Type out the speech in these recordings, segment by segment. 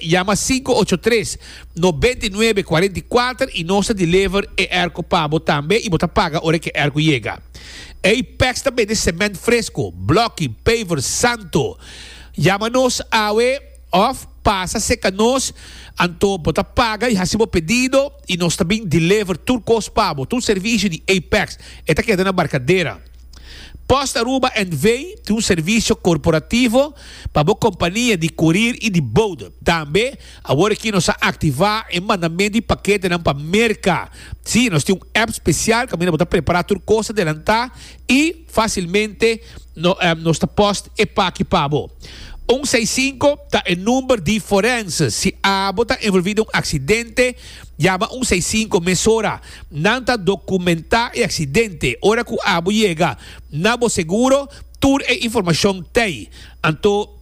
yama 583 99 44 y nos ta deliver e airco pa bo tambe y bo ta paga ora cu e airco yega. Apex ta bende cement fresco, bloki, paver, santo. Yama nos awe of pasa seca nos anto bo ta paga y haci bo pedido y nos ta bin deliver tur cos pa bo, tur servicio di Apex. E ta keda na Barcadera. Post Aruba NV tin un servicio corporativo pa bo compania di courier y di bode. Tambe awor aki nos a activa e mandamento di paketenan pa Merca. Sí, nos tin un app special caminda bo ta prepara tur cos adelanta y facilmente nos ta post e paki pa bo. Un seis sinku ta e number di forense. Si abo ta envolvi den un accidente, yama un seis sinku mesora. Nan ta documentá e accidente. Ora cu abo yega na bo seguro, tur e informacion t'ey. Anto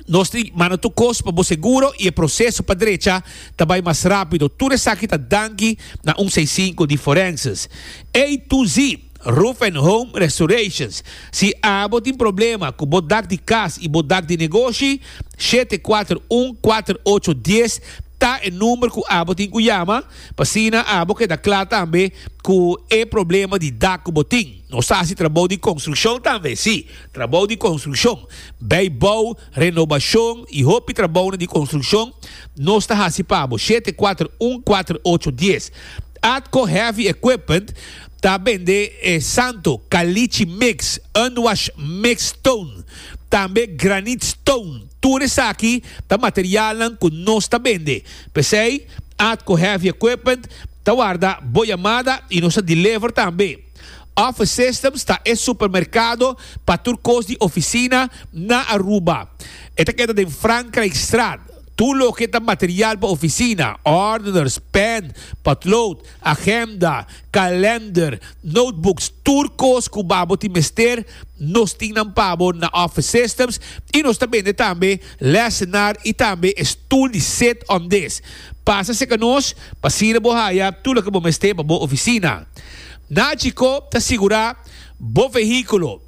nos tin manda tur cos pa bo seguro y e proceso pa drecha ta bay mas rapido. Tur esaki ta danki na un seis sinku di Forenses. A to Z Roof and Home Restorations. Si abo tin problema cu bo dak di cas y bo dak di negoshi, 741 4810 ta e number cu abo tin cu yama. Pa asina abo keda kla tambe ku e problema di dak ku bo tin. Nos ta hasi trabou di konstrukshon tambe, sí, trabou di konstrukshon, bijbouw, renobashon i hopi trabounan di konstrukshon nos ta hasi pa bo. 741 48 dies. Atco Heavy Equipment ta bende e santo Caliche Mix, Unwash Mix Stone, tambe Granite Stone. Tur esaki ta materialnan ku nos ta bende. P'esei, Atco Heavy Equipment ta warda bo yamada y nos ta deliver tambe. Office Systems ta e supermercado pa tur cos di oficina na Aruba. E ta keda den Frankrijkstraat. Tur loke ta material pa oficina, ordeners, pen, potlood, agenda, kalender, notebooks, tur kos ku babo tin mester, nos tin nan pa bo na Office Systems i nos ta bende tambe lessenaar i tambe e stoel di sit on this. Pasa serka nos pa asina bo haya tur loke bo mester pa bo ofisina. Nagico ta sigurá bo vehíkulo,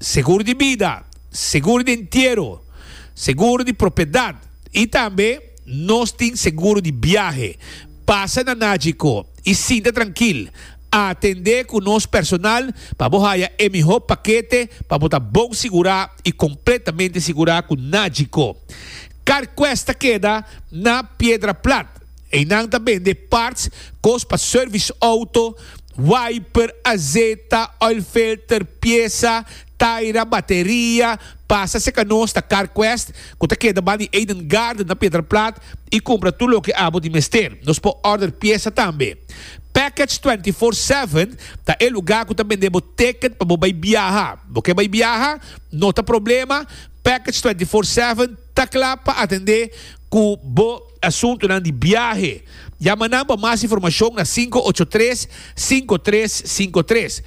seguro di bida, seguro di entiero, seguro di propiedat i tambe nos tin seguro di biahe. Pasa na Nagico i sinta trankil. Atendé ku nos personal pa bo haya e mihó pakete pa bo ta bon sigurá i kompletamente sigurá ku Nagico. CarQuest ta keda na Piedra Plat. Einan ta bende parts, kos pa service auto, wiper, azeta, oil filter, piesa, taira, bateria. Pasa serka nos ta CarQuest ku ta keda banda di Eden Garden na Piedra Plat i kumpra tur loke abo di mester. Nos por order piesa tambe. Package 24 Seven ta e lugá ku ta bende bo ticket pa bo bai biaha. Bo ke bai biaha? No ta problema, Package 24 Seven ta kla pa atendé ku bo asuntunan di biahe. Yama nan pa mas informashon na 583 5353.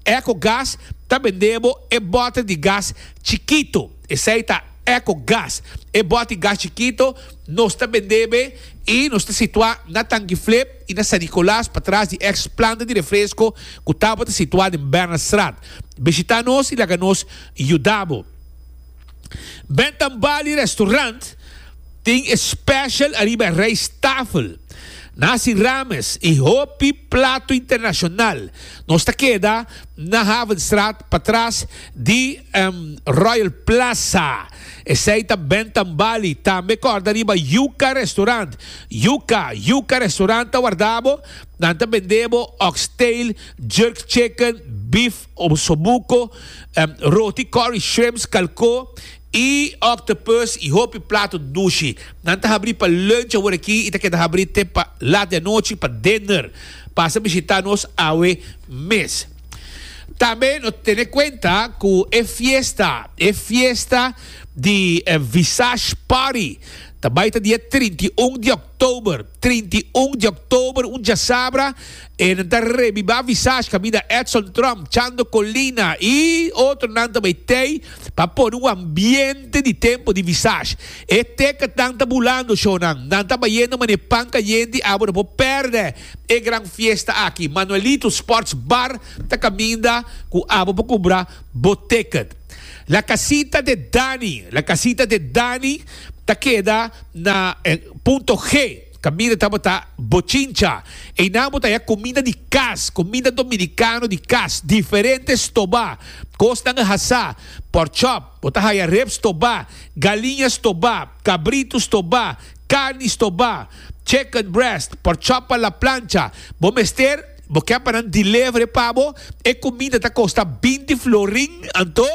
Eco Gas ta bende bo e bòter di gas chikitu. Esei ta Eco Gas. E bòter di gas chikitu nos ta bende be i nos ta situá na Tanki Flip. i na San Nicolas patras di ex planta di refresco cu tabata situa den Bernardstraat. Bishita nos i laga nos yuda bo. Bentham Bali Restaurant tin e special ariba e rijsttafel. Nasi rames i hopi plato internacional. Nos ta keda na Havenstraat patras di Royal Plaza. Esei ta Bentham Bali. Tambe corda riba Yuca Restaurant. Yuca, Yuca Restaurant ta warda bo. Nan ta bende bo oxtail, jerk chicken, beef osobuco, roti curry shrimps, calco y octopus y hopi plato dushi. Nan ta habri pa lunch awor aki y ta keda habri te pa lat di anochi pa dinner. Pasa bishita nos awe mes. Tambe no tene cuenta cu e fiesta, e fiesta di Visage Party ta bay ta dia 31 di october. 31 di october, un djasabra, e nan ta rebiba Visage caminda Edson Trump, Chando Colina y otronan ta bay tey pa pone un ambiente di tempo di Visage. E ticketnan ta bulando, shownan. Nan ta bayendo manera pan cayente, abo no por perde. E gran fiesta aki, Manuelito Sports Bar ta caminda cu abo por cumpra bo ticket. La Casita de Dani, La Casita de Dani. ta keda na Punto G, kaminda tabata bochincha. Einan bo ta haya kuminda di kas, kuminda dominikano di kas, diferente stobá, kosnan hasá, porkchop, bo ta haya rib stobá, galiña stobá, kabritu stobá, karni stobá, chicken breast, porkchop a la plancha. Bo mester, bo ke pa nan deliver pa bo, e kuminda ta kosta binti florin, anto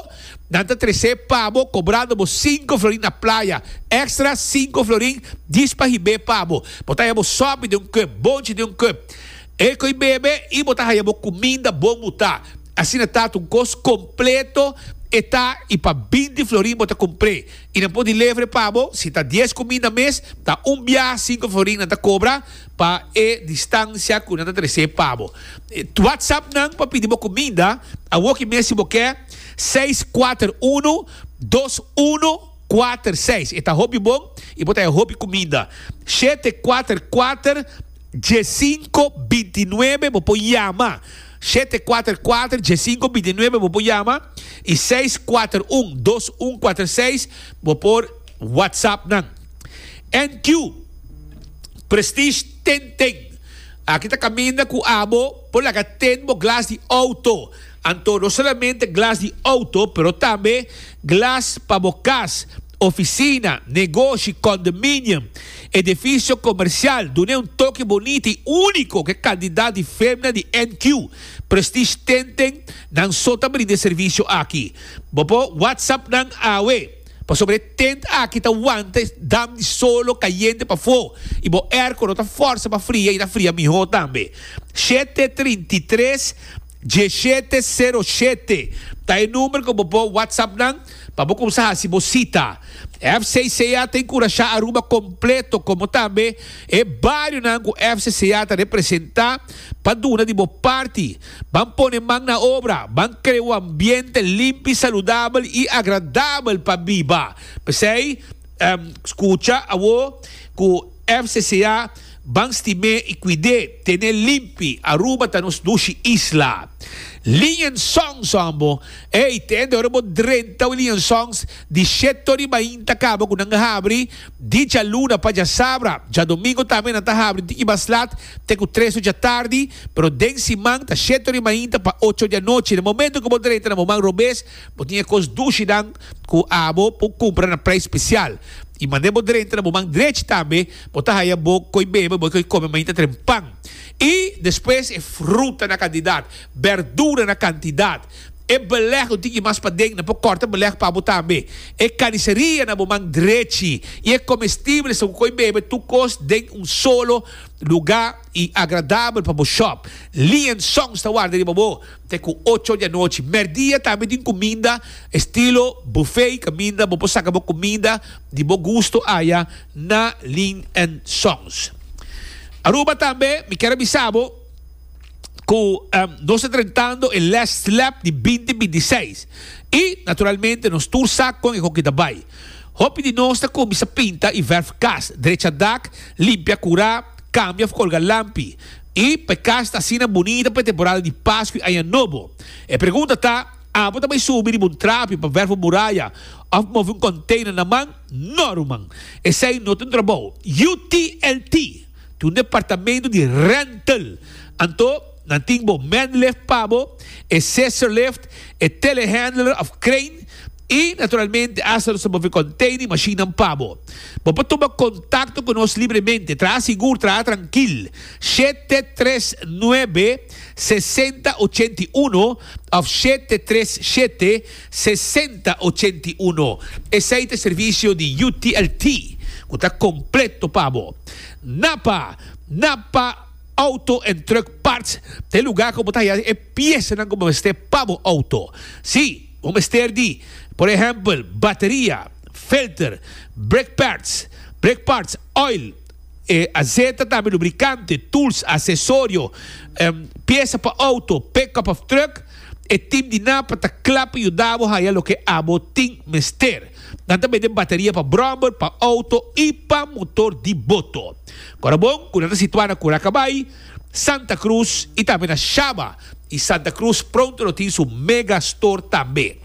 Nan ta tresé pa bo kobrando bo sinku florin na playa, extra sinku florin djis pa hib'é pa bo. Bo ta haya bo sòpi den un kùp, bonchi den un kùp, e ko'i bebe i bo ta haya bo kuminda bon butá. Asina ta ta un kos kompleto e ta i pa binti florin bo ta kumpr'é i nan por deliver pa bo. Si ta dies kuminda mes ta un biaha sinku florin nan ta kobra pa e distansia ku nan ta tresé pa bo. Whatsapp nan pa pidi bo kuminda awoki mes si bo ke. Seis kuater unu dos unu kuater seis. E ta hopi bon i bo ta haña hopi kuminda. Shete kuater kuater diesinko bintinuebe bo por yama. 744 1529 bo por yama i 641 2146 bo por WhatsApp nan. NQ Prestige Ten Ten. Aki ta kaminda ku abo por laga ten bo glas di outo. Anto no solamente glas di auto, pero tambe glas pa bo cas, oficina, negoshi, condominium, edificio comercial. Dun'e un toke bonita y unico cu e cantidad di femna di NQ Prestige Tenten nan so ta brinda e servicio aki. Bo por WhatsApp nan awe, pasobra e tent aki ta wanta e dam di solo cayente pafó y bo airco no ta forsa pa fria y ta fria miho tambe. 733. Diesshete sero shete ta e number ku bo por whatsapp nan pa bo kumsa hasi bo sita. FCCA ta enkurashá Aruba kompleto komo tambe e barionan ku FCCA ta representá pa duna di bo parti. Ban pone man na obra, ban krea un ambiente limpi, saludabel i agradabel pa biba. P'esei, skucha awo ku. FCCA, Ban stim'é i kuid'é, ten'é limpi, Aruba ta nos dushi isla. Liñen Songs hombo, ey tende ora bo drenta un Liñen Songs di sheto riba inta kaba ku nan habri di djaluna pa djasabra, djadomingo tambe nan ta habri tiki mas lat te ku tres or djatardi, pero den siman ta sheto riba inta pa ocho or di anochi. Na momento ku bo drenta na bo man robes bo tin e kos dushinan ku abo por kumpra na prijs spesial. I manda bo drenta na bo man drechi tambe, bo ta haya bo koi bebe, bo koi kome mainta tren pan. I despues e fruta na kantidat, berdura na kantidat, e beleg ku tin ki mas paden, nan por kòrta beleg pa bo tambe, e kariseria na bo man drechi, i e komestibelesnan ku koi bebe, tur kos den un solo lugá i agradabel pa bo shòp. Lee and Sons ta warda riba bo. Te ku ocho di anochi. Merdia tambe tin kuminda estilo buffet kaminda bo por saka bo kuminda di bo gusto aya na Lin and Sons. Aruba tambe mi kier a bisa bo ku nos ta drentando e last lap di binti binti seis i naturalmente nos tur sa kon e hoki ta bai. Hopi di nos ta kuminsa pinta i verf kas, drecha dak, limpia kura, kambia of kolga lampi. I pa e kas ta asina bunita pa e temporada di Pasku i Aña Nobo. E pregunta ta, Abo ta bai subi riba un trapi pa verf un muraya òf move un kònteiner na man? No, ruman. Esei no ta un trabou. UTLT tin un departamento di rental. Anto, nan tin bo manlift pa bo, e scissor lift, e telehandler òf crane, I, naturalmente, asta nos ta move container i mashinnan pa bo. Bo por tuma contacto cu nos libremente. Traha sigur, traha trankil. 739 60 81 of 737 60 81. Esey ta e servicio di UTLT cu ta completo pa bo. Napa! Napa Auto and Truck Parts ta e lugar cu bo ta haya e piesanan cu bo mester pa bo auto. Si! Bo mester di, por ehèmpel, bateria, filter, brake pads, brake parts, oil, e azeta tambe, lubricante, tools, asesorio, piesa pa auto, pick-up of truck. E team di Napa ta kla pa yuda bo haya loke abo tin mester. Nan ta bende bateria pa brommer, pa auto i pa motor di boto. Kora bon ku nan ta situá na Curacabai, Santa Cruz i tambe na Shaba. Y Santa Cruz pronto lo tin su mega store tambe.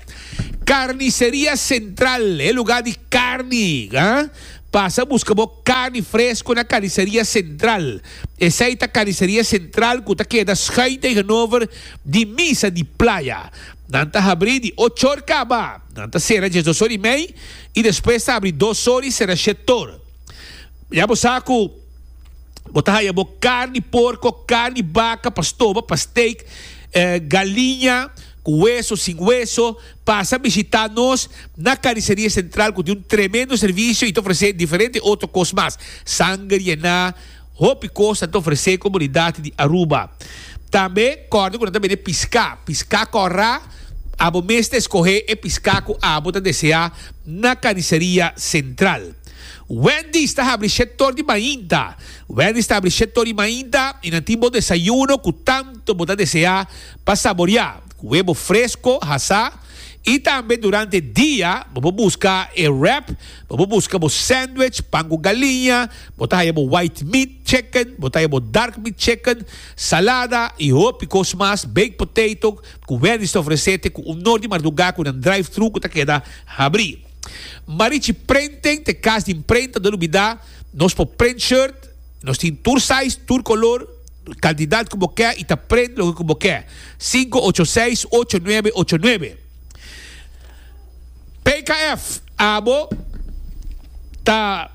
Carniceria Central, e lugar di carni, ha? Pasa buska bo karni fresko na Carniceria Central. Esei ta Carniceria Central ku ta keda schuin tegenover di Misa di Playa. Nan ta habrí di ochor kaba, nan ta sera diesdos or i mei i despues ta habrí dos or i sera shetor. Ya bo sa ku bo ta haya bo karni porko, karni baka pa stoba, pa steak, galiña ku weso, sin weso. Pasa bishita nos na Carniceria Central ku tin un tremendo servisio i ta ofresé diferente otro kos mas. Sanger yená, hopi kos nan ta ofresé komunidat di Aruba. Tambe kòrda ku nan ta bende piská, piská kòrá, abo mes ta eskohé e piská ku abo ta deseá na Carniceria Central. Wendy's ta habri shetor di mainta. Wendy's ta habri shetor di mainta i nan tin bo desayuno ku tanto bo ta deseá pa saboriá. Ku webo fresco hasá i tambe durante dia bo por buska e wrap, bo por buska bo sandwich, pan ku galiña, bo ta haya bo white meat chicken, bo ta haya bo dark meat chicken, salada i hopi kos mas, baked potato ku Wendy's ta ofresé te ku un nor di mardugá ku nan drive thru ku ta keda habrí. Marichi Printing ta e kas di imprenta, no lubidá nos por print shirt, nos tin tur size, tur kolor. Kantidat ku bo ke i ta prende loke ku bo ke. Sinku ocho seis ocho nuebe ocho nuebe. PKF, Abo ta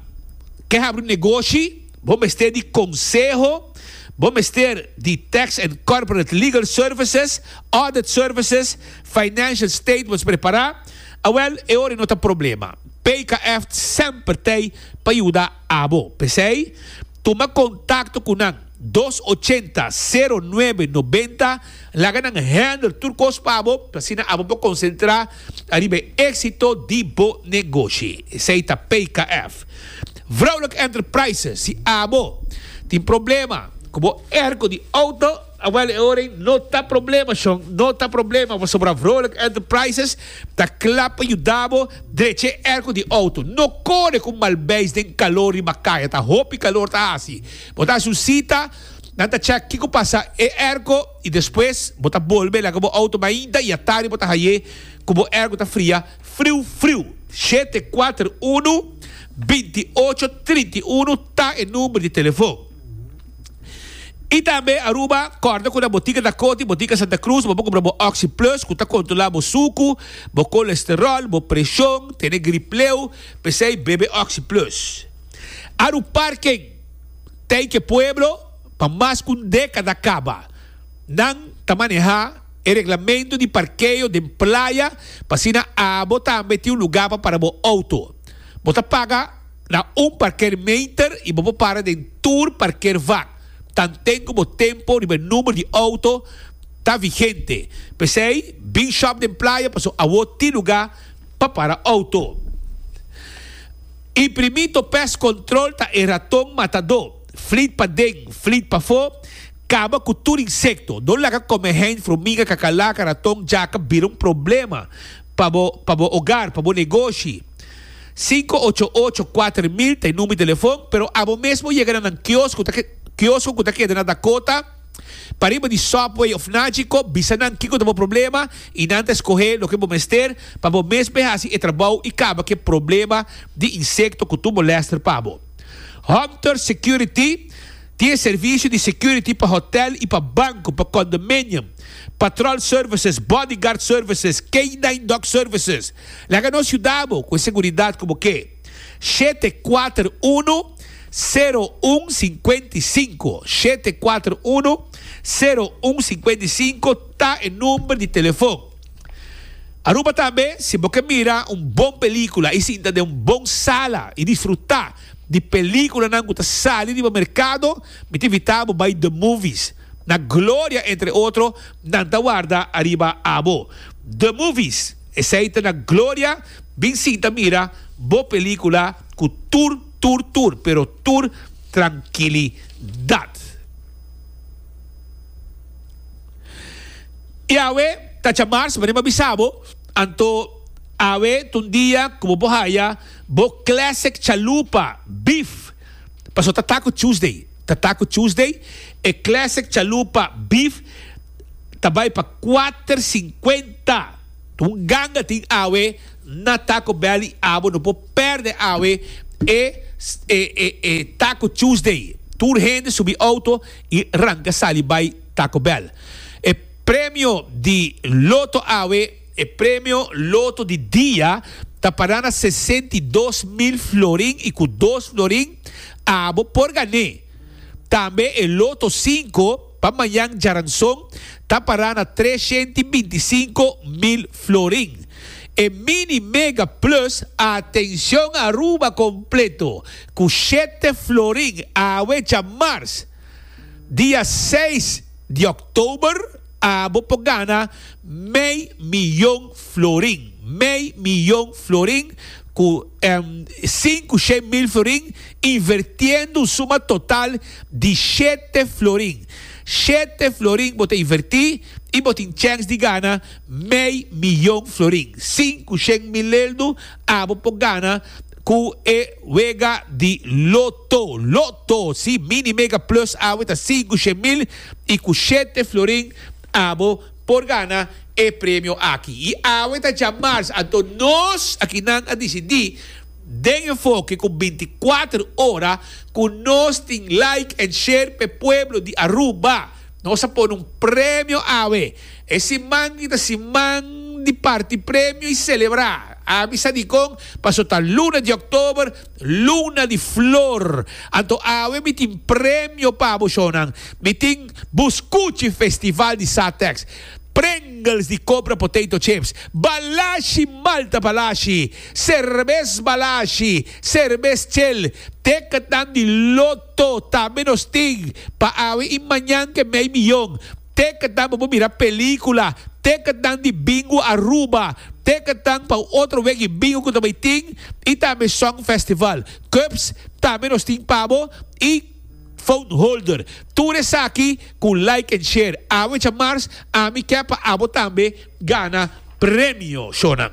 ke habri un negoshi, bo mester di konseho, bo mester di tax and corporate legal services, audit services, financial statements prepará, awèl e ora no ta problema. PKF semper t'ei pa yuda abo. P'esei, Tuma kontakto ku nan, dos ochenta, sero nuebe, nobenta, laga nan handle tur kos pa bo, pa asina abo por konsentrá ariba e éksito di bo negoshi. Esei ta PKF. Vrouwelijk Enterprises, si abo tin problema ku bo airco di outo, awel e ora ei no ta problema shon, no ta problema pasobra Vrouwelijk Enterprises ta kla pa yuda bo Drecha e airco di auto. No core cu malbeis den calor riba caya. Ta hopi calor ta haci. Bo ta haci un cita, nan ta check kico pasa e airco y despues bo ta bolbe laga bo auto mainta y atardi bo ta haye cu bo airco ta fria friu friu. Shete kuater unu, binti ocho, trinta i unu ta e number di telefon. Y tambe Aruba, corda cu na Botica Dakota y Botica Santa Cruz bo por cumpra bo Oxi Plus cu ta controla bo sucu, bo colesterol, bo presion, tene grip leu, p'esey bebe Oxi Plus. Aru Parking, Tijke Pueblo, pa mas cu un decada caba nan ta maneha e reglamento di parkeo den playa pa asina abo tambe tin un lugar pa para bo auto. Bo ta paga. Na un parkeermeter y bo por para den tur parkeervak. Tanten cu bo tempo riba e number di auto ta vigente. P'esey, bin shop den playa pasobra awo tin luga pa para auto. Imprimito Pest Control ta e raton matadó. Flit paden, flit pafó, caba cu tur insecto. No laga comehein, fruminga, cacalaca, raton, djaca bira un problema pa bo pa bo hogar, pa bo negoshi. Sinku ocho ocho kuater mil ta e number di telefon, pero abo mes por yega na nan kiosko ta kiosko ku ta keda na Dakota, pariba di Subway of Nagico, bisa nan kiko ta bo problema i nan ta eskohé loke bo mester pa bo mes bay hasi e trabou i kaba ku e problema di insekto ku tur molèster pa bo. Hunter Security tin e servisio di security pa hotel i pa banko, pa condominium, patrol services, bodyguard services, K-nine dog services. Laga nos yuda bo ku e seguridat ku bo ke. Shete kuater unu, sero un sinkuenta i sinku, shete kuater unu, sero un sinkuenta i sinku ta e number di telefon. Aruba tambe, si bo ke mira un bon pelikula i sinta den un bon sala i disfruta di pelikulanan ku ta sali riba merkado, mi ta invita bo bai The Movies. Na Gloria, entre otro, nan ta warda ariba abo. The Movies. Esei ta na Gloria, bin sinta mira bo pelicula cu tur tur tur pero tur trankilidad. Y awe ta djamars manera mi a bisa bo, anto awe ta un dia cu bo por haya bo classic chalupa beef, pasobra ta Taco Tuesday, ta Taco Tuesday, e classic chalupa beef ta bai pa kuater sinkuenta. Un ganga tin awe na Taco Bell y abo no por perde awe E e e e Taco Tuesday. Tur hende subi auto y ranca sali bay Taco Bell. E premio di loto awe, e premio loto di dia ta para na 62 mil florin y cu dos florin abo por gan'é. Tambe e loto 5 pa mañan djaranson ta para na 325 mil florin. E Mini Mega Plus, atencion Aruba completo, cu 7 florin awe djamars, dia 6 di october, abo por gana mei miyon florin. Mei miyon florin cu 500 mil florin, invertiendo un suma total di 7 florin. 7 florin bo ta inverti y bo tin chance di gana mei miyon florin. 500 mil euro abo por gana cu e wega di Lotto. Lotto, si, Mini Mega Plus awe ta 500 mil y cu 7 florin abo por gana e premio aki. Y awe ta djamars, anto nos aki nan a dicidi den Enfoke cu 24 ora cu nos tin like and share pe pueblo di Aruba. Nos a pone un premio awe. E siman ta siman di parti premio y celebra. Ami sa dicon, paso ta luna di october, luna di flor. Anto awe mi tin premio pa bo shownan. Mi tin Buscuchi Festival di Satex. Pringles di Cobra Potato Chips, Balashi Malta Balashi, Cerbes Balashi, Cerbes Chel, ticketnan di Lotto, tambe nos tin pa awe y mañan ke mei miyon. Ticketnan pa bo mira pelicula, ticketnan di Bingo Aruba, ticketnan pa otro wega bingo cu tambe tin y tambe Song Festival. Cups tambe nos tin pa bo y phone holder. Tur esaki cu like and share. Awe djamars, ami ke pa abo tambe gana premio, shownan.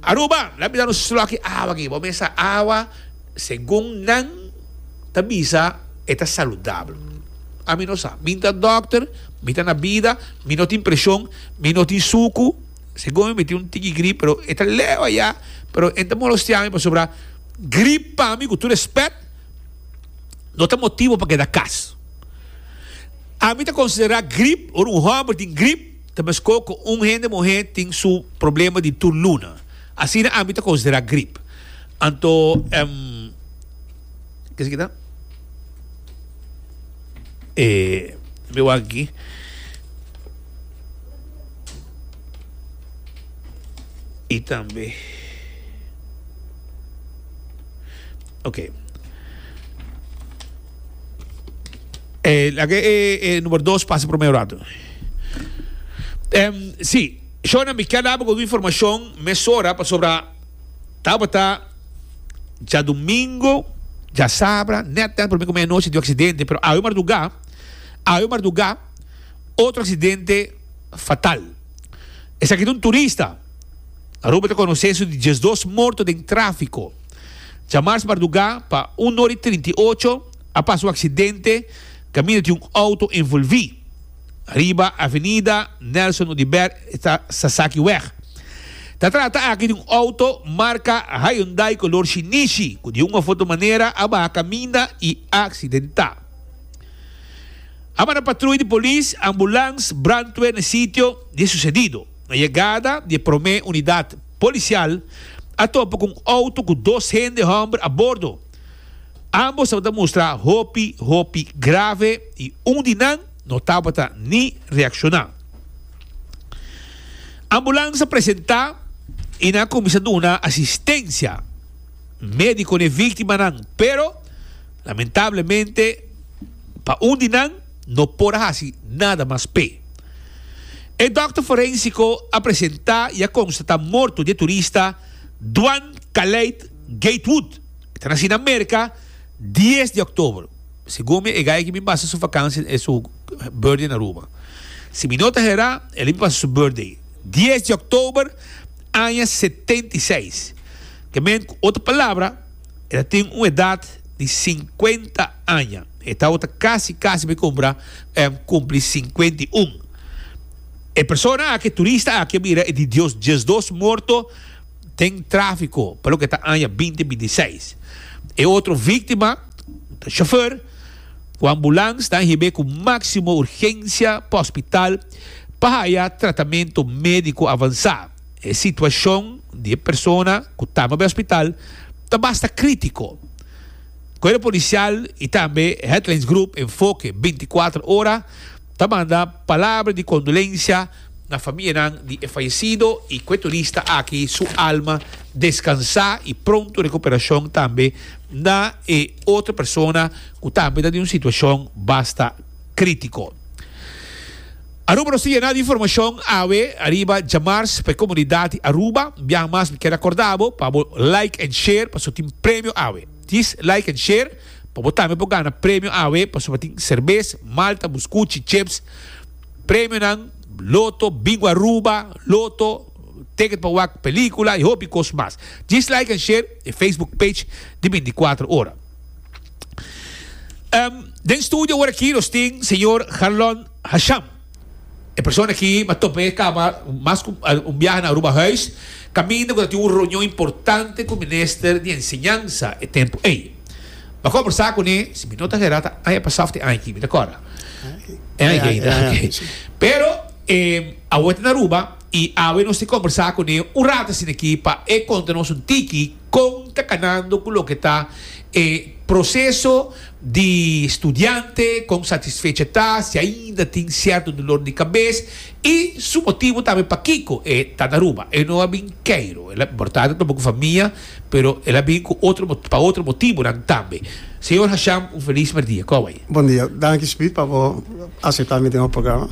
Aruba, laat mi dar un slokje awa aki. Bo mesa awa, segun nan ta bisa, e ta saludabel. Ami no sa. Mi ta dokter, mi ta na bida, mi no tin presion, mi no tin sucu. Segun mi, mi tin un tiki grip, pero e ta leu allá, pero e ta molestia mi pasobra grip pa mi, cu tur respet, no ta motibo pa keda cas. Ami ta considera grip, ora un homber tin grip, ta mesco cu un hende muher tin su problema di tur luna. Asina ami ta considera grip. Anto, ke esaki ta? Mi wak aki. Y tambe. Ok. Laga e number 2 pasa prome rato. Si, Shona, mi kier daba ku informashon mesora pasobra tabata djadumingo, djasabra, net net prome ku medianochi di un aksidente, pero awe mardugá, awe mardugá otro aksidente fatal. Esaki ta un turista. Aruba ta konosé su di 12 morto den tráfiko. Djamars mardugá pa un ora i 38 a pasa un aksidente kaminda tin un outo envolví riba Avenida Nelson Oduber esta Sasakiweg. Ta trata aki di un outo marka Hyundai kolor shinishi ku di un of otro manera a baha kaminda i a aksidentá. A manda patruya di polis, ambulans, brandweer na e sitio di e susedido. Na yegada di e promé unidat polisial a topa ku un outo ku dos hende hòmber a bordo. Ambos tabata mustra hopi hopi grave i un di nan no tabata ni reakshoná. Ambulans a presentá i nan a kuminsá duna asistensia médiko na e víktimanan, pero lamentablemente pa un di nan no por a hasi nada mas p'e. E dòkter forensiko a presentá i a konstatá morto di e turista Dwan Kaleid Gatewood. E ta nasí na Merka 10 di òktober. Segun mi e gai aki bin pasa su vakansia e su birthday na Aruba. Si mi no ta herá, el a bin pasa su birthday 10 di òktober aña 76. Ke men ku otro palabra e ta tin un edat di 50 aña. E tabata kasi kasi bai kumpra kumpli 51. E persona aki, e turista aki a mira e di Dios 12 morto. den tráfiko pa loke ta aña 2026. E otro víktima ta chauffeur ku ambulans ta hib'é ku máksimo urgensia pa hospital pa haya tratamentu médiko avansá. E situashon di e persona ku tamba bai hospital ta basta krítiko. Kuerpo Polisial i tambe Headlines Group Enfoke 24 Ora ta manda palabra di kondolensia na famianan di e fayesido i ku e turista aki su alma deskansá i pronto rekuperashon tambe na e otro persona ku tambe ta den un situashon basta krítiko. Aruba nos ta yena di informashon awe ariba djamars pa e komunidat di Aruba. Un biaha mas mi kier akorda bo pa bo like and share pasobra tin premio awe. Djis like and share pa bo tambe por gana premio awe pasobra tin serbes, malta, buskuchi, chips, Premionan, Loto, Bingo Aruba, Loto, ticket pa wak pelicula y hopi cos mas. Djis like and share e Facebook page di 24 ora. Um, den studio awor aki nos tin señor Harlon Hasham. E persona aki m'a topa e caba mas cu un biaha na Aruba Huis, caminda cu ta tin un reunion importante cu minister di enseñansa e tempo ey. M'a conversa cune, si mi no ta gera ta aña pasa of te aña aki, mi ta corda. E aña aki ainda, ok. Pero e awe ta na Aruba y awe nos tin conversa cune un rato asina aki pa e conta nos un tiki con ta canando cu loke ta e proceso di studiante, con satisfecho e ta, si ainda tin cierto dolor di cabes y su motibo tambe pakico e ta na Aruba. E no a bin Cairo, el a por ta ta topa cu famia. Pero el a bin ku otro pa otro motibunan tambe. Señor Hasham un felis merdia. Kòw bai? Bon dia. Danki Speed pa bo aseptá mi den bo programa.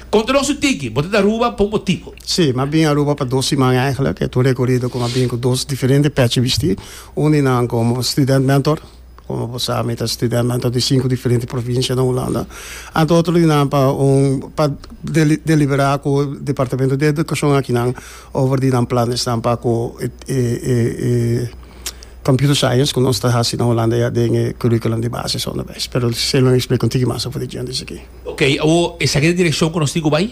Konta nos un tiki, bo ta na Aruba pa un motibu. Sí, mi a bin Aruba pa dos siman eigenlijk. E ta un rekorido ku mi a bin ku dos diferente pèchi bistí. Un di nan komo student mentor. Komo bo sa mi ta student mentor di sinku diferente provinsia na Hulanda. Anto otro di nan pa un pa deliberá ku departamento di edukashon akinan over di nan planesnan pa ku e e computer science ku nos ta hasi na Hulanda ya den e curriculum di basis onderwijs. Pero esei lo mi explika un tiki mas over di djente esaki. Oké, awor esaki ta e direkshon ku nos tin ku bai?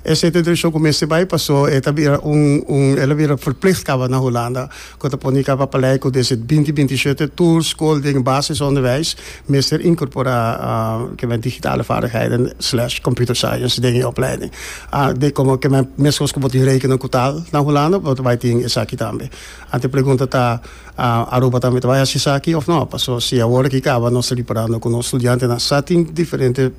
Esei ta e direkshon ku mester bai paso e ta bira un un el a bira verplicht kaba na Hulanda ku ta pone kaba pa lei ku desde binti binti shete tur skol den basisonderwijs mester inkorporá ke men digitale vaardigheden slash computer science den e opleiding. De komo ke men meskos ku bo tin rekenen ku taal na Hulanda bo ta bai tin esaki tambe. Anto e pregunta ta Aruba tambe ta bai hasi esaki òf no? Paso si awor aki kaba nos ta riparando ku nos studiantenan sa tin diferente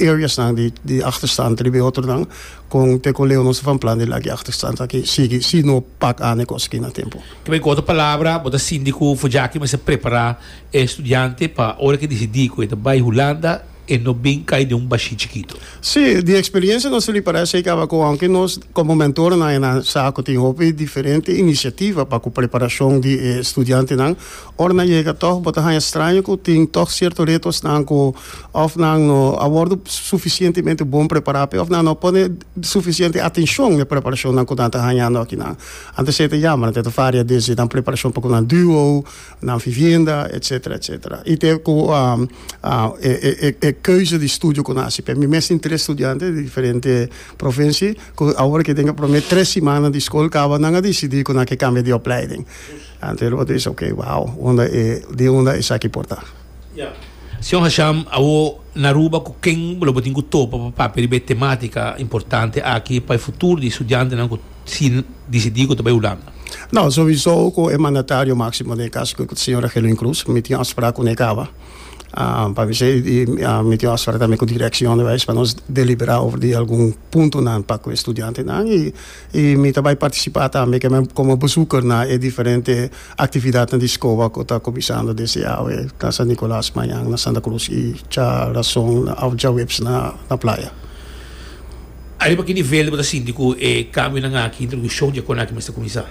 areasnan di di achterstand riba e otronan kon te kon leu nos ta van plan di laga e achterstand aki sigui si no pak aan e kos aki na tempo. Kibé ku otro palabra bo ta sinti ku Fojaki mester prepará e studiante pa ora ku e disidí ku e ta bai Hulanda e no bin kai den un bashí chikitu? Sí, di experiencia nos ta ripará esei kaba ku aunke nos komo mentornan e nan sa ku tin hopi diferente inisiativa pa ku preparashon di e studiantenan, Ora nan yega tòg bo ta haña straño ku tin tòg sierto retosnan ku òf nan no a wòrdu sufisientemente bon prepará p'e òf nan no a pone sufisiente atenshon n'e preparashonnan ku nan ta hañando akinan. Antes esei ta yama, nan ta varia desde nan preparashon pa ku nan duo, nan vivienda, etsetera, etsetera. I te ku e keuze di studio ku nan hasi p'e. Mi mes tin tres studiante di diferente provinsie ku awor ke den e promé tres simannan di skol kaba nan a disidí ku nan ke kambia di opleiding. Anto el otro bisa, ok, wow, unda e, di unda esaki por ta? Ya. Señor Hasham, awo na Aruba ku ken lo bo tin ku topa pa papia riba e tematika importante aki pa e futuro di studiantenan ku si disidí ku ta bai Hulanda? No, sowiso ku e mandatario máksimo den e kaso ku señora Gerlin Cruz, mi tin afsprak ku ne kaba. Pa mi esei i mi tin afsprak tambe ku direktie onderwijs pa nos deliberá over di algun puntonan pa ku e studiantenan i I mi ta bai partisipá tambe komo bezoeker na e diferente aktividatnan di SCOA ku ta kuminsando desde awe na San Nicolas, mañan na Santa Cruz i djarason òf djaweps na Playa. Ariba ki nivel bo ta sinti ku e kambionan aki, introdukshon di e kon aki mester kuminsá?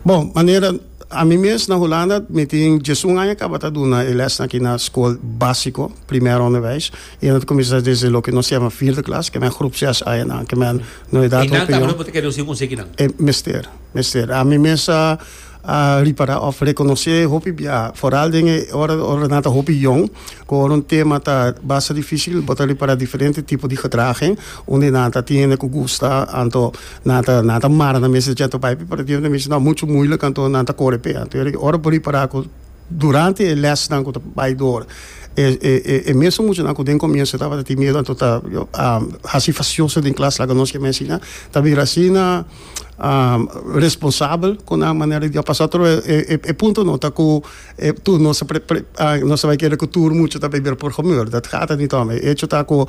Bon, manera ami mes na Hulanda mi tin diesun aña kaba ta duna e lèsnan aki na skol básiko, primair onderwijs, i nan ta kuminsá desde loke nos yama vierde klas, ke men groep zes añanan, ke men No e dat Einan tambe no por ta kere nos tin un konsekinan. E mester, mester. Ami mes a a ripará òf rekonosé hopi bia, foral den e ora ora nan ta hopi yong, ku ora un tema ta basta difísil bo ta ripará diferente tipo di gedraging, unda nan ta tin hende ku gusta anto nan ta nan ta mara nan mes dje anto bai pero tin hende ta bisa no muchu muilik anto nan ta kore p'e. Anto ora bo ripará ku durante e lèsnan ku ta bai dor e e e mesun muchanan ku den komienso tabata tin miedu anto ta hasi fasioso den klas laga nos ke mensina ta bira asina responsabel ku nan manera di pasa otro e e punto no ta ku e tur nos nos ta bai kere ku tur mucha ta bai bira programeur dat gaat het niet om e hecho ta ku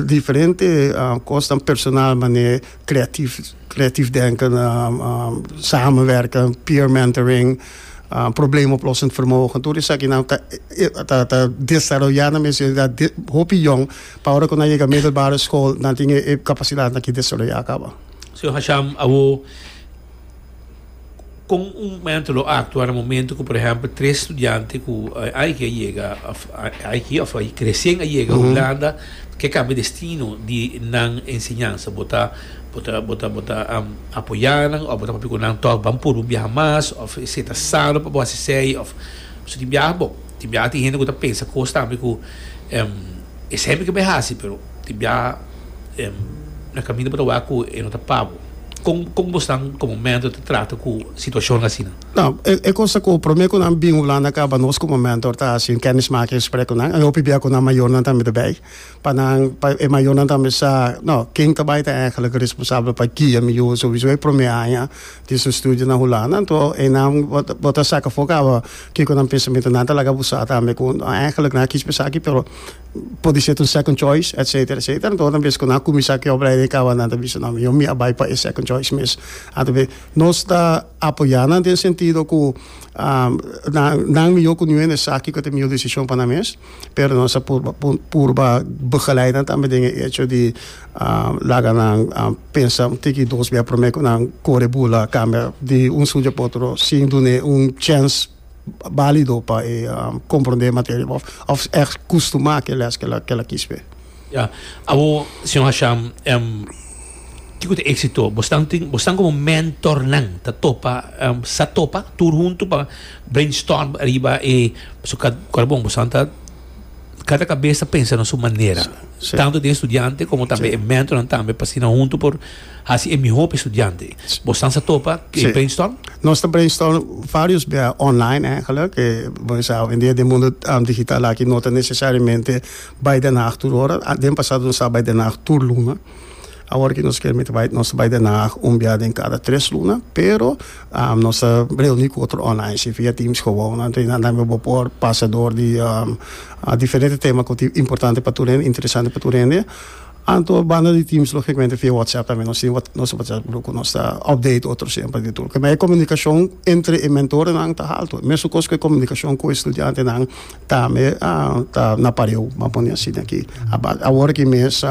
diferente kosnan personal manera creatief creatief denken samenwerken peer mentoring probleemoplossend vermogen tur esakinan ta ta ta desaroya nan mes hopi yong pa ora ku nan yega middelbare school nan tin e kapasidatnan aki desaroya kaba. Señor Hasham, awo kon un mentor lo actua na momento ku por ehempel tres studiante ku aiki a yega of aiki of resien a yega Hulanda ke kambia destino di nan enseñansa? Bo ta bo ta bo ta bo ta apoya nan of bo ta papia ku nan tòg ban purba un biaha mas of esei ta sano pa bo hasi esei of pasobra tin biaha bo tin biaha tin hende ku ta pensa kos tambe ku esei mi ke bai hasi pero tin biaha na kaminda bo ta wak ku e no ta pa bo. Kon kon bosnan komo mentor ta trata ku situashonnan asina? No, e kos ta ku promé ku nan bin Hulanda kaba nos komo mentor ta hasi un kennismakingsgesprek ku nan. E hopi bia ku nan mayornan tambe ta bai pa nan pa e mayornan tambe sa no ken ta bai ta eigenlijk responsabel pa guia mi yu souiso e promé aña di su studio na Hulanda. Anto einan bo ta bo ta saka afó kaba kiko nan pensamentu. Nan ta laga bo sa tambe ku eigenlijk nan a kis pa esaki pero Podisé ta un second choice, etcetera, etcetera. Anto ora bes ku nan a kuminsá ku e opleiding kaba nan ta bisa, no, mi a bai pa e second choice mes. Anto be nos ta apoyá nan den sentido ku nan nan mihó ku niun hende sa kiko ta e mihó desishon pa nan mes, pero nos a purba purba begeleid nan tambe den e echo di laga nan pensa un tiki dos bia promé ku nan kore bula kambia di un studio pa otro sin dun'é un chèns. Bálido pa e komprondé e materia òf òf ègt kustumá ku e lès ke el a kis p'e. Ya. Awor, señor Hasham, kiko ta éksito? Bosnan tin, bosnan komo mentornan ta topa, sa topa tur huntu pa brainstorm riba e, pasobra ka bon, bosnan ta kada kabes ta pensa na su manera. Tantu den studiante komo tambe e mentornan tambe pa asina huntu por Hasi e mihó pa e studiante. Bosnan sa topa e brainstorm? Nos ta brainstorm varios bia online eigenlijk. Bo sa awendia den mundo digital aki no ta necesariamente bai Den Haag tur ora. Den pasado nos sa bai Den Haag tur luna. Awor ki nos kier miti bai nos ta bai Den Haag un bia den kada tres luna. Pero nos ta reuni ku otro online si via Teams gewoon. Anto nan tambe bo por pasa door di diferente tema ku ta importante pa tur hende, interesante pa tur hende. Anto banda di Teams logicamente via WhatsApp tambe nos tin nos WhatsApp grupo ku nos ta update otro semper di tur. Kema e komunikashon entre e mentorenan ta haltu. Mesun kos ku e komunikashon ku e studiantenan tambe ta na pareu, ban pone asina aki. Awor aki mes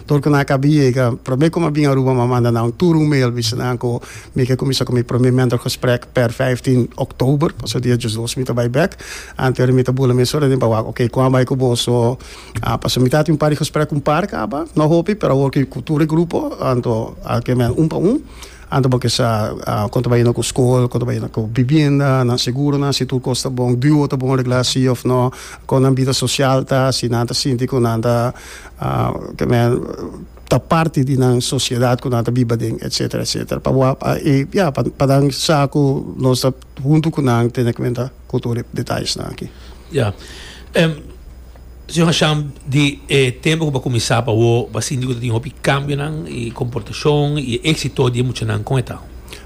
tur ku nan a kaba di yega, prome ku mi a bin Aruba mi a manda nan tur un mail bisa nan ku mi ke kuminsa ku mi prome mentorgesprek per 15 oktober, pasobra dia diesdos mi ta bai bek. Anto mi ta bula mesora den pa wak oke kon a bai ku boso. A pasobra mi tabatin un par di gesprek ku un par kaba, no hopi, pero awor ku tur e grupo, anto a ke men un pa un, anto bo ke sa kon ta bayendo ku skol, kon ta bayendo ku bibienda, nan seguronan, si tur kos ta bon, duo ta bon reglá si òf no, kon nan bida sosial ta, si nan ta sinti ku nan ta ke men ta parti di nan sosiedat ku nan ta biba den, etsetera, etsetera. Pa bo a e ya, pa nan sa ku nos ta huntu ku nan tene kuenta ku tur e detayesnan aki. Ya. Señor Hasham, di e tempo ku bo a kuminsá pa awor, bo a sinti ku ta tin hopi kambionan i komportashon i e éksito di e muchanan kon e ta?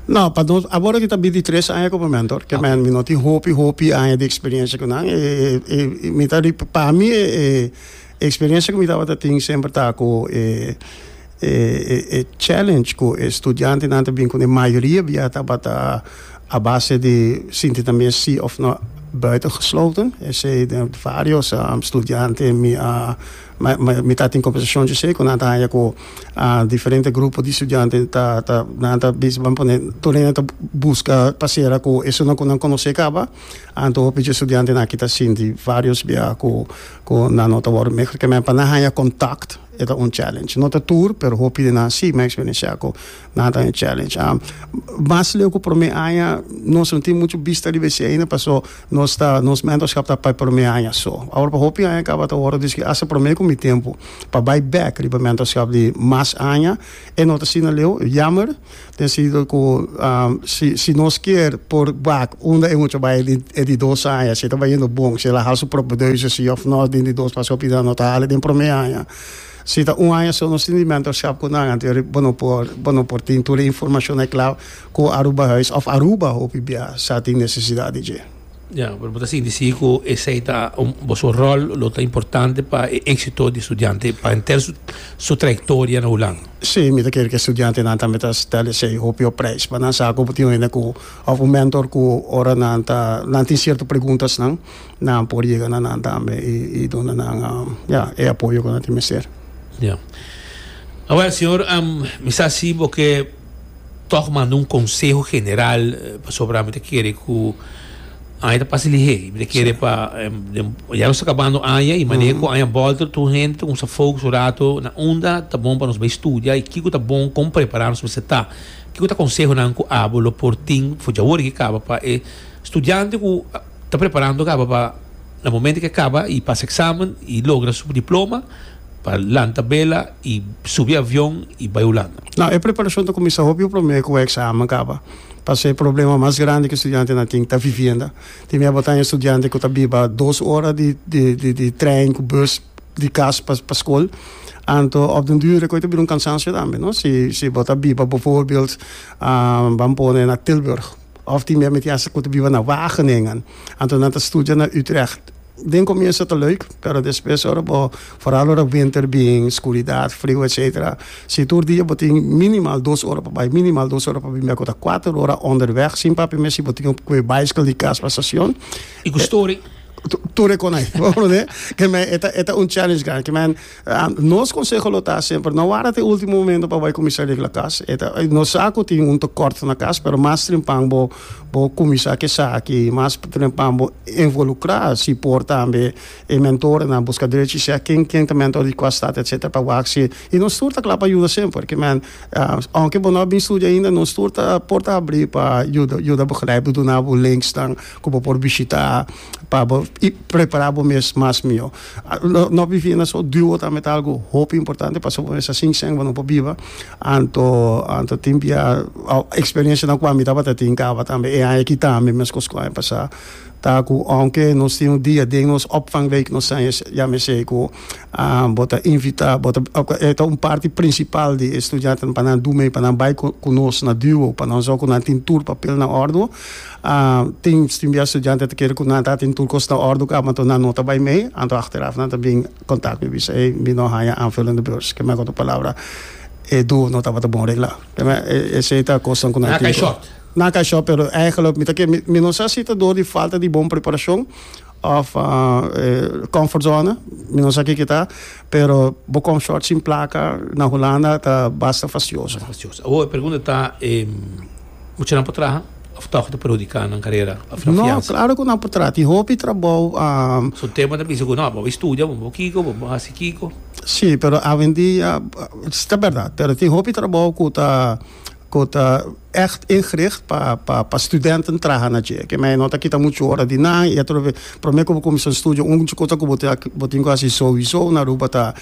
No, pa nos, awor aki ta bintitres aña komo mentor, ke men mi no tin hopi hopi aña di eksperiencia ku nan. E e mi ta pa mi e eksperiencia ku mi tabata tin semper ta ku e e challenge ku e studiantenan ta bin kuné mayoria bia tabata a base di sinti nan mes si of no buitengesloten. Esei den varios studiante mi a. Mi ta tin kombersashon dje ku nan ta haña ku diferente grupo di studiante ta ta nan ta bisa ban pone tur hende ta buska pa sera ku esunnan ku nan konosé kaba. Anto hopi dje studiantenan aki ta sinti vários bia ku ku nan no ta wòrdu mehor ke men pa nan haña kontakt e ta un challenge. No ta tur pero hopi di nan si mi a eksperensiá ku nan ta un challenge. Mas leu ku promé aña nos no tin muchu bista riba esei ainda paso nos ta nos mentorschap ta pa e promé aña so. Awor pa hopi aña kaba ta wòrdu diskutí asta promé ku mi tempu pa bai bèk riba mentorschap di mas aña e no ta asina leu. Jammer den sentido ku si si nos kier por wak unda e mucha bai e di dos aña si e ta bayendo bon si el a hal su propedeuse si òf no den di dos pasobra hopi nan no ta hal den promé aña. Si ta un aña so nos tin di mentorschap ku nan anto bo no por bo no por tin tur e informashonnan kla ku Arubahuis òf Aruba hopi bia sa tin nesesidat di dje. Ya, pero bo ta sinti si ku esei ta un boso ròl lo ta importante pa e éksito di studiante pa henter su su trayektoria na Hulanda. Sí, mi ta kere ku e studiantenan tambe ta stel esei hopi op prijs pa nan sa ku bo tin un hende ku òf un mentor ku ora nan ta nan tin sierto preguntasnan Nan por yega na nan tambe i duna nan ya e apoyo ku nan tin mester. Ya. Awel señor, mi sa si bo ke tòg manda un konseho general pasobra mi ta kere ku aña ta pasa lihé. Mi ta kere pa ya nos ta kabando aña i manera ku aña bòlter tur hende ta kumsa focus un rato na unda ta bon pa nos bai studia i kiko ta bon kon prepará nos mester ta. Kiko ta konsehonan ku abo lo por tin for djawor ke kaba pa e studiante ku Ta preparando kaba pa na momento ke kaba y pasa examen y logra su diploma pa lanta bela y subi avion y bai Hulanda. No, e preparacion ta cuminsa hopi prome cu e examen caba. Pasobra e problema mas grandi cu estudiantenan tin ta vivienda. Tin mia bo ta un estudiante cu ta biba dos ora di di trein cu bus di cas pa pa scol. Anto op den duur e ta bira un cansancio tambe, no? Si si bo ta biba bijvoorbeeld ban pone na Tilburg. Of tin mia tin hasta ku ta biba na Wageningen. Anto nan ta studia na Utrecht. Den komienso ta leuk, pero despues ora bo, foral ora winter bin, skuridat, friu etcetera, si tur dia bo tin minimal dos ora pa bai, minimal dos ora pa bin bek, ku ta kuater ora onderweg, sin papia mes si bo tin ku e baiskel di kas pa stacion. I ku story. Tur e konai. Bo comprende? Ke men e ta e ta un challenge grandi. Ke men nos conseho lo ta semper no warda te ultimo momento pa bai cuminsa regla cas. E ta nos sa cu tin un tekort na cas pero mas trempan bo bo cuminsa ke esaki mas trempan bo involucra si por tambe e mentorenan busca drechi sea ken ken ta mentor di cua stad etcetera pa wak si y nos tur ta cla pa yuda semper. Ke men aunke bo no a bin studia ainda nos tur ta por ta habri pa yuda yuda begrijp duna bo linksnan ku bo por bishitá pa bo i prepará bo mes mas mihó. No bivienda so duo tambe ta algu hopi importante pasobra bo mester sin sèn bo no por biba. Anto anto tin bia eksperensianan ku ami tabata tin kaba tambe e aña aki tambe meskos ku aña pasá ta ku ounke nos tin un dia den nos opvangweek nos ta yama esei ku bo ta invitá bo ta e ta un parti prinsipal di e studiantenan pa nan du mei pa nan bai ku nos na duo pa nan sò ku nan tin tur papel na òrdu. Tin tin bia studiante ta kere ku nan ta tin tur kos na òrdu kaba anto nan no ta bai mei, anto achteraf nan ta bin kontak mi bisa ey mi no haña aanvullende beurs. Ke men ku otro palabra e duo no tabata bon reglá. Ke men esei ta kosnan ku nan tin ku. Nan a kai shòrt. Nan a kai shòrt pero eigenlijk mi ta kere mi no sa si ta dor di falta di bon preparashon òf comfortzone mi no sa kiko ta pero bo kom shòrt sin plaka na Hulanda ta basta fastioso. Basta fastioso. Awor e pregunta ta muchanan por traha? Of tòg ta perhudiká nan karera òf nan No, fiansa? klaro ku nan por traha. Tin hopi trabou. So tema ta bisa ku no, bo bai studia, bo bo kiko, bo bo hasi kiko. Sí, pero awendia, ta bèrdat, pero tin hopi trabou ku ta ku ta ègt ingericht pa pa pa studenten traha na dje. Ke mei no ta kita muchu ora di nan i atrobe promé ku bo kuminsá studia un kos ku bo ta bo tin ku hasi souiso na Aruba ta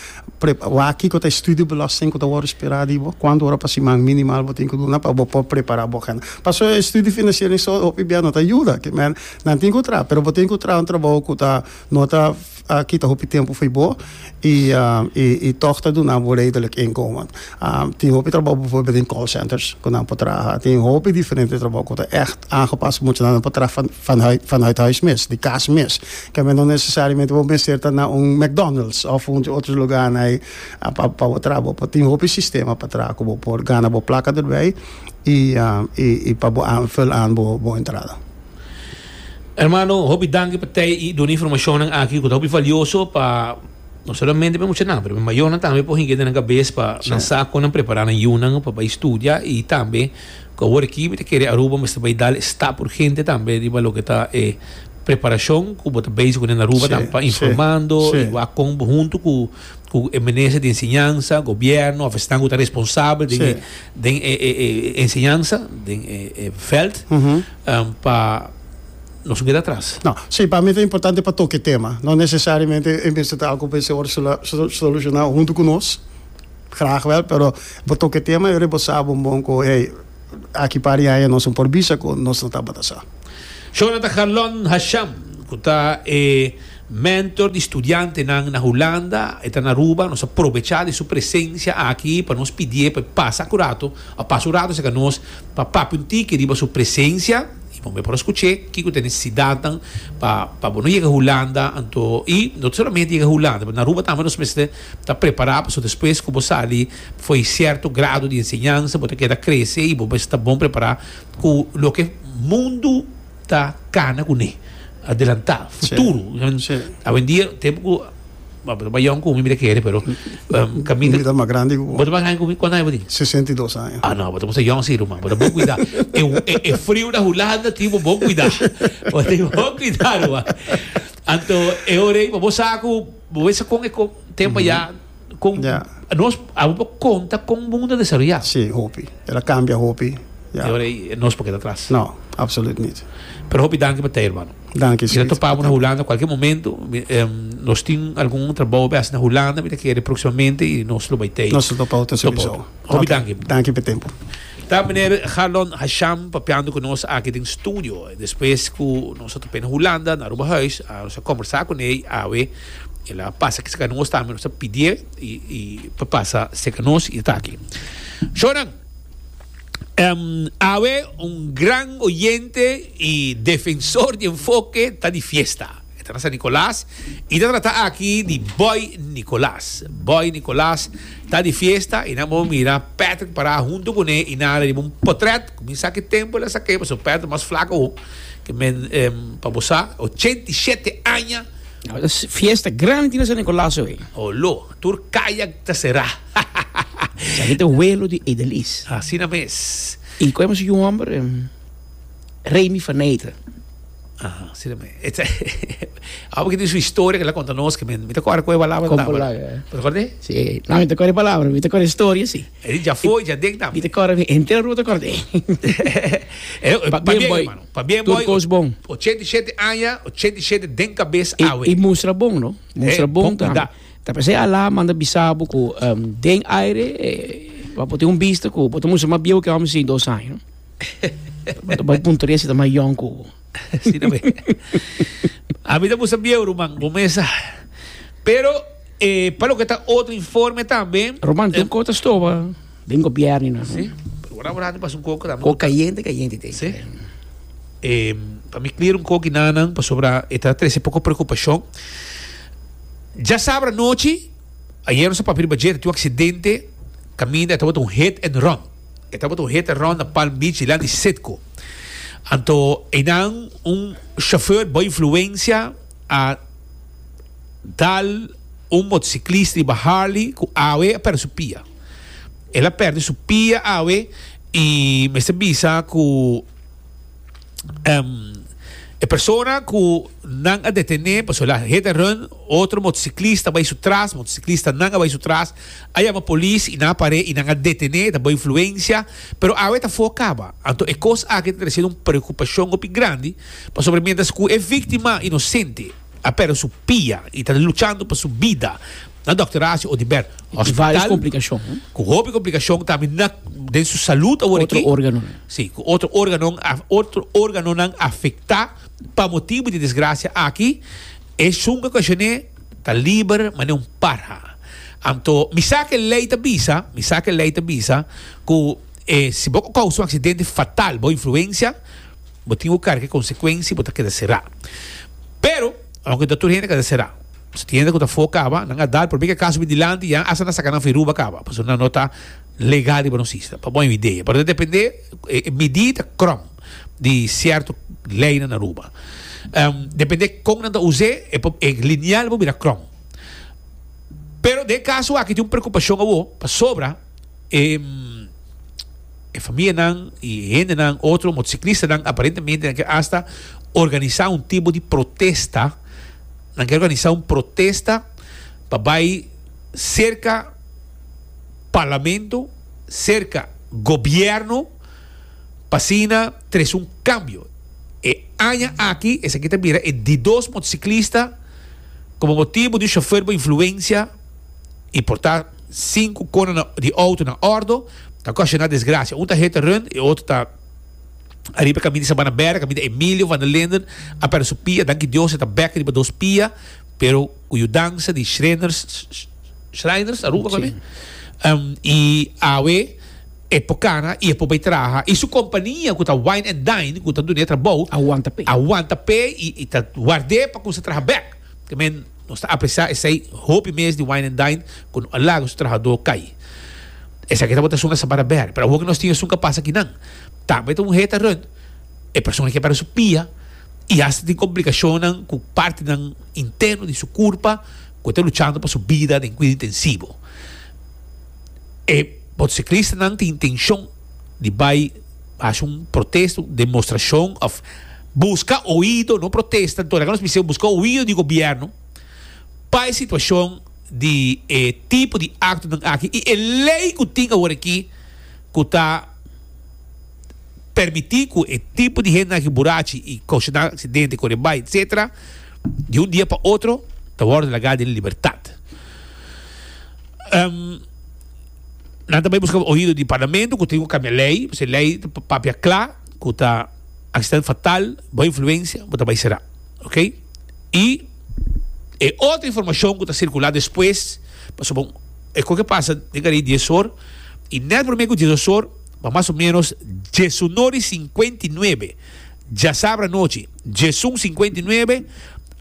Wak kiko ta e studiebelasting ku ta wòrdu sperá di bo? Kuantu ora pa siman minimal bo tin ku duna pa bo por prepará bo agenda? Pasobra e studiefinanciering so hopi bia no ta yuda. Ke men nan tin ku traha, pero bo tin ku traha un trabou ku ta no ta kita hopi tempu fo'i bo i i tòg ta duna bo redelijk inkomen. Tin hopi trabou bijvoorbeeld den call centers ku nan por traha. Tin hopi diferente trabou ku ta ègt aangepas pa muchanan nan por traha vanuit vanuit huis mes, di kas mes. Ke men no nesesariamente bo mester ta na un McDonald's of un otro lugar na pa pa bo traha. Bo por tin hopi sistema pa traha ku bo por gana bo plaka derbij i i pa bo aanvul aan bo bo entrada. Hermano, hopi danki pa tei i duna informashonnan aki ku ta hopi valioso pa. No solamente pa e muchanan, pero pa e mayornan tambe por hinka den nan kabes pa nan sa kon nan prepará nan yunan pa bai studia i tambe ku awor aki mi ta kere Aruba mester bai dal e stap urgente tambe riba loke ta e preparashon ku bo ta bezig kuné na Aruba tambe pa informando i wak kon bo huntu ku ku e minister di enseñansa, gobièrnu òf esnan ku ta responsabel den e den e e enseñansa den e vèlt pa Nos no keda atras. No, sí, pa mi ta importante pa toca e tema. No necesariamente e mester ta algo cu mester worde soluciona hunto cu nos, graag wel, pero bo toca e tema y ora bo sa bon bon cu hey, aki par di aña nos no por bisa cu nos no tabata sa. Shona ta Garlon Hasham, cu ta e mentor di studiantenan na Hulanda, e ta na Aruba, nos a probecha di su presencia aki pa nos pidié pa e pasa cu rato, a pasa un rato cerca nos pa papia un tiki riba su presencia. I bo por a skuch'é kiko ta e nesesidatnan pa pa bo no yega Hulanda anto i no solamente yega Hulanda pero na Aruba tambe nos mester ta prepará pasobra despues ku bo sali for e sierto grado di enseñansa bo ta keda krese i bo mester ta bon prepará ku loke mundu ta kana kuné adelantá futuro awendia tempu ku Bo ta mas yòn ku mi, mi ta kere, pero kaminda. Mi ta mas grandi ku bo. Bo ta mas grandi ku mi? Kuantu aña bo tin? 62 aña. Ah, no, bo ta mucha yòn si, ruman. Bo ta bon kuidá. E, e, e friu na Hulanda tin bo bon kuidá. Bo tin bon kuidá, ruman. Anto, e ora ei, bo sa ku bo wesa kon e kon tempu ayá, kon Ya. nos abo por konta kon mundu a desaroyá. Sí, hopi. El a kambia hopi. Ya. E ora ei nos por keda atras. No, absoluut niet. Pero hopi danki pa tei, hermano. Danki, Mi ta Sweet. topa bo na Hulanda cualkier momento. Mi, nos tin algun trabou pa haci na Hulanda, mi ta kere proximamente y nos lo bay tei. Nos lo topa otro Topa sowieso. otro. Hopi Ok, danki. Danki p'e tempo. Ta meneer Garlon Hasham papiando cu nos aki den studio. Despues cu nos a topa na Hulanda, na Aruba Huis, a nos a combersa cu ne awe. El a pasa aki cerca nos tambe, nos a pidie y, y pa pasa cerca nos y e ta aki. Shonan. Awe un gran oyente y defensor di Enfoke ta di fiesta. E ta na San Nicolas y ta trata aki di Boy Nicolas. Boy Nicolas ta di fiesta y nan bo mira Patrick para hunto cune y nan a riba un potret. Cu mi sa ki tempo el a saké pasobra Patrick mas flaco awo ke men pa bo sa 87 aña. Fiesta grandi tin na San Nicolas awe. Olo, tur caya ta cera. Esaki ta welo di Edelis. Asina mes. I koe su yu homber Remy van Eeten. Aha, asina mes. Abo ki tin su historia ke el a konta nos ke mi ta kòrda koe palabra Kon tabata. palabra? Bo ta kòrda? Si, no mi ta kòrda e palabra, mi ta kòrda e historia si. E di djafó i djaden tambe. Mi ta kòrda, henter Aruba ta kòrda. Pabien boy, hermano. Pabien Tur boy. kos bon. 87 aña, 87 den kabes awe. I mustra bon no. Mustra Eh, bon bon tambe. kuida. Ta p'esei Alá manda bisa bo ku den aire bo por tin un bista ku bo ta mustra mas bieu ku e hòmber di 62 aña. Bo ta bai puntra si ta mas yòn ku bo. Si ta bai. Ami ta mustra bieu ruman, bo mes sa. Pero pa loke ta otro informe tambe. Ruman, tin un kos ta stoba den gobièrnu nan. Si, pero ora bo pasa un koko tambe. Koko kayente kayente te. Si. Pa mi clear un koki nanan pasobra e ta trese poko preokupashon. Djasabra anochi, ayer nos a papia riba dje, ta tin un aksidente kaminda e tabata un hit and run. E tabata un hit and run na Palm Beach dilanti Citgo. Anto einan un chauffeur bo influencia a dal un motociclista riba Harley ku awe a perde su pia. El a perde su pia awe y mester bisa ku E persona ku nan a detené pasobra el a hit and run, otro motosiklista a bai su tras, motosiklista nan a bai su tras, a yama polis i nan a par'é i nan a detené, ta bo influensia, pero awe ta afó kaba. Anto e kos aki ta tresiendo un preokupashon hopi grandi, pasobra mientras ku e víktima inosente a pèrdè su pia i ta luchando pa su bida na Dòkter Horacio Oduber Hospital, ku hopi komplikashon tambe na den su salud awor aki. Otro órganonan. Sí, ku otro órganon otro órganonan afektá pa motibu di desgrasia aki, esun ku a okashoné ta liber manera un parha. Anto mi sa ku e lei ta bisa, mi sa ku e lei ta bisa ku e si bo kousa un aksidente fatal bo influensia, bo tin ku karga e konsekuensia i bo ta keda será. Pero, aunke ta tur hende a keda será. Si tin hende ku ta afó kaba, nan a dal promé ku e kaso bin dilanti ya hasta nan saka nan firuba kaba, pasobra nan no ta legal riba nos isla. Pa bo un idea. Pero ta dependé, e midí ta krom di sierto leinan na Aruba. Dependé kon nan ta us'é, e por e lineal por bira krom. Pero den e kaso aki tin un preokupashon awor pasobra e e famianan i e hendenan, otro motosiklistanan aparentemente nan ke asta organisá un tipo di protesta, nan ke organisá un protesta pa bai serka parlamento, serka gobièrnu pa asina trese un kambio. E aña aki esaki ta bira e di dos motosiklista komo motibu di un shofer bo influensia i por ta sinku kona di outo na òrdo ta okashoná desgrasia. Un ta hit and run e otro ta ariba e kaminda di Sabana Bèrdè, kaminda Emilio van der Linden a pèrdè su pia. Danki Dios e ta bèk riba dos pia pero ku yudansa di Shriners Shriners Aruba Sí. I awe e por kana i e por bai traha i su kompania ku ta Wine and Dine ku ta dun'é trabou A wanta p'e. a wanta p'e i ta ward'é pa kuminsá traha bèk. Ke men nos ta apresiá esei hopi mes di Wine and Dine ku no a laga su trahadó kai. Esaki tabata esun na Sabana Bèrdè pero awor ku nos tin esun ku a pasa akinan tambe ta un heta rùnt e persona ke pèrdè su pia i asta tin komplikashonnan ku partinan interno di su kurpa ku e ta luchando pa su bida den kuido intensivo. E motociclistanan tin intencion di bay haci un protesta, un demostracion of busca oido, no protesta, anto laga nos bisa busca oido di gobierno pa e situacion di e tipo di actonan aki y e ley cu tin awor aki cu ta permiti cu e tipo di hendenan aki burachi y causana accidente, core bay, etcetera, di un dia pa otro ta wordo laga den libertad. Nan ta bai buska oido di parlamento ku tin ku kambia lei, pasobra e lei ta papia kla ku ta aksidente fatal, bo influensia, bo ta bai sera. Ok? I e otro informashon ku ta sirkulá despues, pasobra e koke pasa den kari dies or, i nèt promé ku diesdos or, pa mas o ménos diesunor i sinkuenta i nuebe, djasabra anochi, 11:59,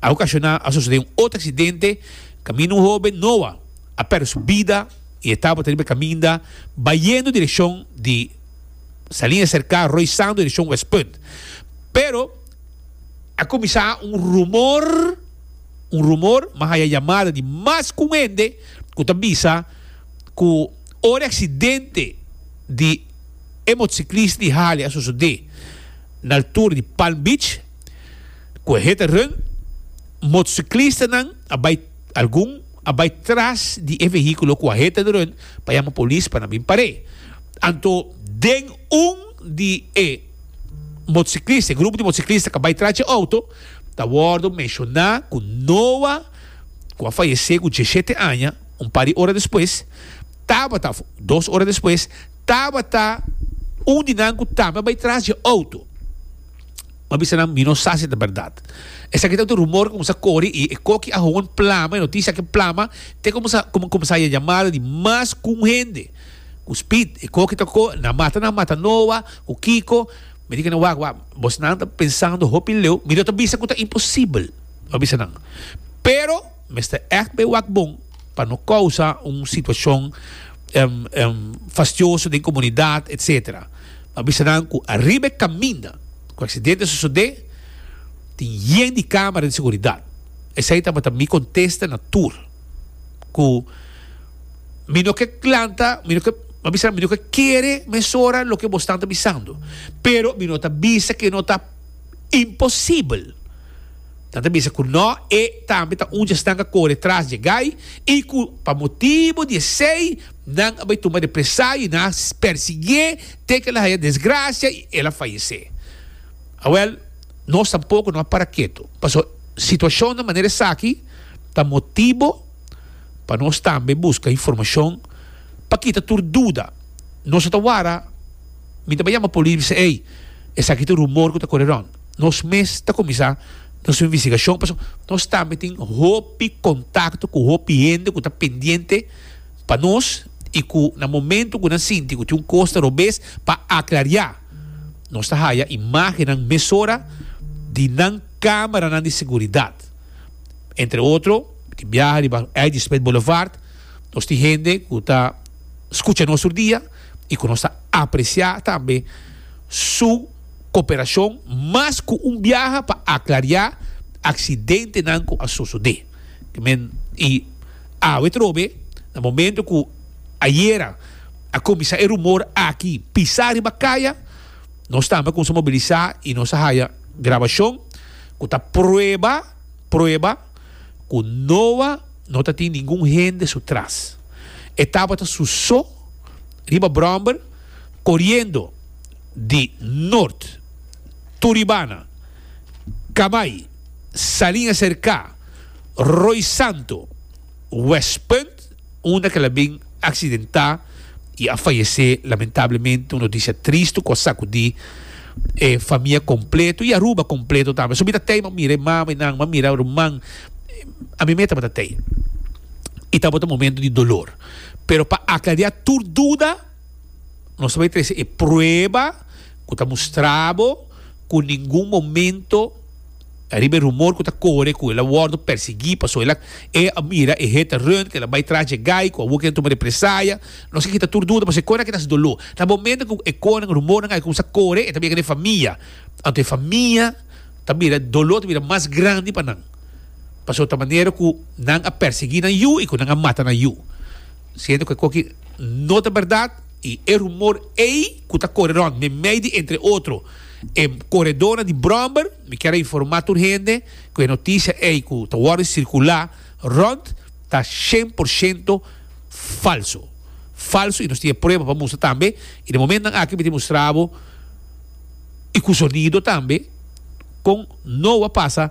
a okashoná, a sosodé un otro aksidente kaminda un hóben Noa a pèrdè su bida i e tabata riba e kaminda bayendo direkshon di Saliña Serká Roy Santo direkshon Westpunt. Pero a kuminsá un rumor, un rumor, m'a haya yamada di mas ku un hende ku ta bisa ku ora e aksidente di e motosiklista di Harley a sosodé na altura di Palm Beach ku e hit and run, motociclistanan a bai algun a bai tras di e vehiculo cu a hit and run pa yama polis pa nan bin par'é. Anto den un di e motociclista, e grupo di motociclista cu a bai tras dje auto ta wordo menciona cu Noah cu a fayece cu diesshete aña un par di ora despues tabata, dos ora despues, tabata un di nan cu tambe a bai tras dje auto. M'a bisa nan, Mi no sa si ta bèrdat. Esaki ta un rumor ku kuminsá kore i e koki a hoon plama, e notisia aki plama te kuminsá ku kuminsá haña yamada di mas ku un hende. Ku speed e koki ta ko, nan mata nan mata Noa, ku kiko. Mi di ku nan, Wak, wak, bosnan ta pensando hopi leu, mi no ta bisa ku ta imposibel, m'a bisa nan. Pero mester ègt bai wak bon pa no kousa un situashon fastioso den komunidat, etsetera. M'a bisa nan ku ariba e kaminda ku aksidente a sosodé, tin yen di kámara di seguridat. Esei tabata mi kontesta na tur ku mi no ke klanta, mi no ke, m'a bisa nan, mi no ke kere mesora loke bosnan ta bisando, pero mi no ta bisa ke no ta imposibel. Nan ta bisa ku nò, e tambe ta un dje esnan ku a kore tras dje gai i ku pa motibu di esei nan a bai tuma represalia i nan a persiguié te ku el a haña desgrasia i el a fayesé. Awèl, nos tampoko no a para ketu, pasobra situashonnan manera esaki ta motibu pa nos tambe buska informashon pa kita tur duda. Nos no ta wara, mi ta bai yama polis i bisa, Ey, esaki ta un rumor ku ta kore rònt. Nos mes ta kuminsá nos investigashon pasobra nos tambe tin hopi kontakto ku hopi hende ku ta pendiente pa nos i ku na momento ku nan sinti ku tin un kos ta robes pa aklariá nos ta haya imágennan mesora di nan kámaranan di seguridat. Entre otro tin biaha riba Eddie Smith Boulevard nos tin hende ku ta skucha nos tur dia i ku nos ta apresiá tambe su Koperashon mas ku un biaha pa aklariá aksidentenan ku a sosodé. Ke men i Awe trobe, na momento ku ayera a kuminsá e rumor aki pisá riba kaya, nos tambe a kuminsá mobilisá i nos a haya grabashon ku ta prueba, prueba ku Noa no ta tin ningun hende su tras. E tabata su so riba bròmber koriendo di Noord, Turibana, Kamai, Saliña Serká, Rooi Santo, Westpunt, unda ku el a bin aksidentá i a fayesé lamentablemente. Un notisia tristu ku a sakudí e famia kompleto i Aruba kompleto tambe. So mi ta tei, mi a mira e mama i nan, mi a mira ruman, ami mes tabata tei. I tabata un momento di dolor. Pero pa aklariá tur duda, nos ta bai trese e prueba ku ta mustra bo ku ningun momento riba e rumor ku ta kore ku el a wòrdu persiguí pasobra el a e a mira e hit and run ku el a bai tras dje gai ku awor ke tuma represaya. Nos ke kita tur duda pasobra e konan aki ta hasi doló. Na momento ku e konan rumornan aki kuminsá kore e ta bira den e famia. Anto e famia ta bira doló ta bira mas grandi pa nan pasobra ta manera ku nan a persiguí nan yu i ku nan a mata nan yu. Siendo ku e koki no ta bèrdat i e rumor ei ku ta kore rònt meimei di entre otro e koredónan di bròmber, mi kier a informá tur hende ku e notisia ei ku ta wòrdu sirkulá rònt ta shen por shento falso. Falso i nos tin e prueba pa mustra tambe i na momentonan aki mi tin mustra bo i ku sonido tambe kon Noa pasa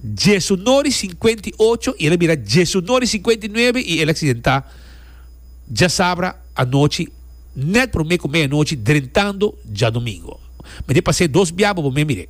diesunor i 58 i el a bira diesunor i 59 i el a aksidentá djasabra anochi nèt promé ku meianochi drentando djadumingo. Mi tin pas'é dos biaha pa bo mei mir'é.